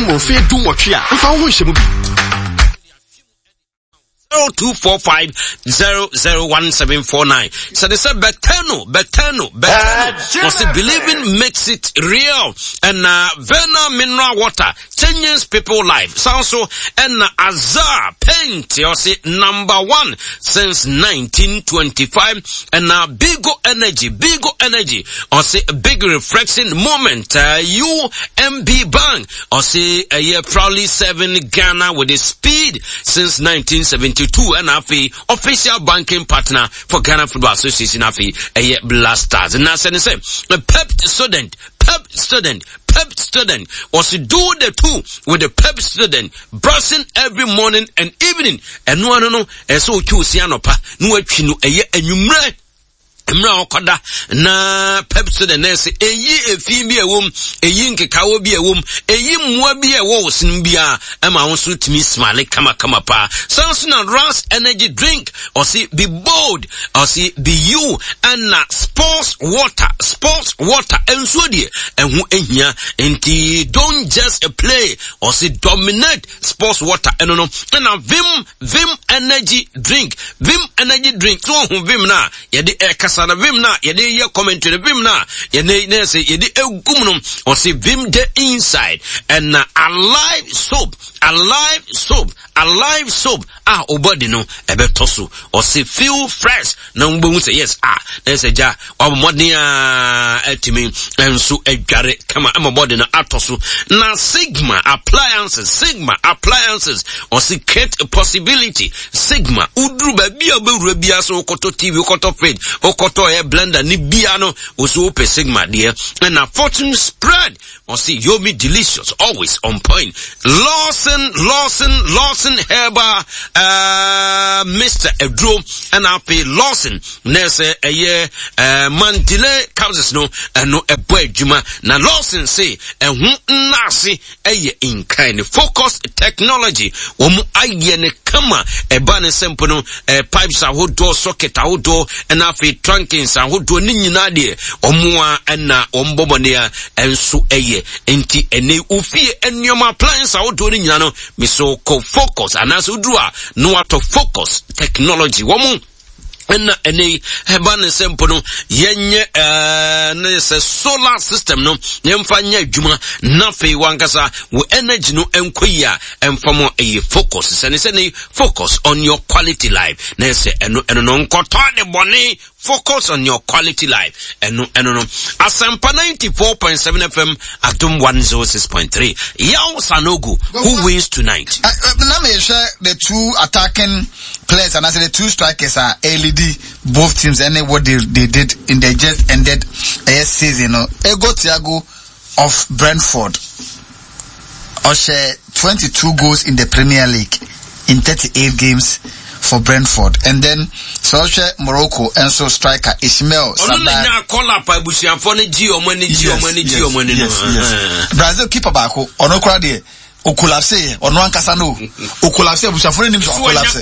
wɔ mfeɛ 18 a, mfa wo ho nhyɛ mu bi. 0245 001749 sɛde sɛ bɛtɛno bɛtɛno bɛtɛno wɔsi believing makes it real ɛna Vena mineral water changes people life san so ɛna Azar paint ɔsi number one since 1925 ɛna Bigo energy Bigo energy ɔsi big refreshing moment uh, UMB bank Ɔse ɛyɛ proudly serving Ghana with the speed since 1972 ɛna afei official banking partner for Ghana Football Association afei ɛyɛ Blasters. Na sɛ ne sɛ Pep student Pep student Pep student ɔse do the two with the Pep student brushing every morning and evening ɛno ano no ɛsɛ otwi osi anɔpa na watwi no ɛyɛ anwummerɛ mmerɛ a ɔkɔda na pepsodent na ɛsɛ eyi efi bi a ɛwɔ mu eyi nkekawa bi a ɛwɔ mu eyi mmoa bi a ɛwɔ wɔ sini bi a ɛma wɔn nso tumi smile kamakama paa san so na ras energy drink ɔsi be bold ɔsi be you ɛna sports water sports water nsuo deɛ ɛho ehia nti don't just play ɔsi dominate sports water ɛno no ɛna vim Vim energy drink, Vim energy drink. So ɔho Vim na yɛde ɛkasa na Vim na yɛde yɛ commentary na Vim na yɛde na yɛsɛ yɛde egum no. Ɔsi Vim the inside ɛna alive soap, alive soap, alive soap a ɔbɔdi no ɛbɛtɔ so. Ɔsi feel fresh na wobɛhu sɛ yes a na ɛsɛ gya wabɔ mmɔden a atumi nso adware kama ama bɔde no atɔ so na sigma appliances sigma appliances ɔsi create a possibility sigma woduru baabi a wobɛwura biara so wokɔtɔ tv wokɔtɔ fridge wokɔtɔ ɛyɛ blender ne bia no wo so wopɛ sigma deɛ ɛna fortune spread Ɔse yomi delicious always on point Lawson Lawson Lawson herbal uh, Mr. Aduro ɛna afei Lawson na ɛsɛ ɛyɛ uh, Mandile capsules no ɛno ɛbɔ adwuma na Lawson se ɛho nnaase ɛyɛ nkan ne focus technology wɔn ayɛ ne kama ɛba ne sɛ mpo no eh, pipes ahodoɔ socket ahodoɔ ɛna afei trunkings ahodoɔ ne nyinaa deɛ wɔn a ɛna wɔn bɔ bɔne a ɛnso ɛyɛ nti ɛne ofie nneɛma appliance ahodoɔ no nyinaa no meso kɔ focus anaasɛ woduru a na watɔ focus technology wɔn ɛna ɛnɛ yi ɛba ne sɛ mpo no yɛnyɛ ɛɛ ne sɛ solar system no yɛmfa nyɛ adwuma na afei wankasa wɔ energy no nkɔ yi a ɛmfa mo ɛyɛ focus sɛ ne sɛ ne focus on your quality life na ɛsɛ ɛno ɛno no nkɔtɔ de bɔne Focus on your quality life. Ɛno ɛno no. Asempa 94.7 FM, Adum 106.3. Yao Sanogo, who wins tonight? Na me hwɛ the two attacking players and I say the two strikers are LED both teams and what they did in the just ended uh, season. No, Ego Thiago of Brentford ɔhyɛ 22 goals in the Premier League in 38 games for Brentford and then sɛ ɔhwɛ Morocco nso striker Ismail Sabai. Ɔno na nya kɔla pa abusuafoɔ no gye wɔn ani gye wɔn ani gye wɔn ani no. Yes Brazil keeper baako ɔno koraa deɛ okolapse yɛ ɔno ankasa no okolapse abusuafoɔ no nim sɛ ɔkolapse.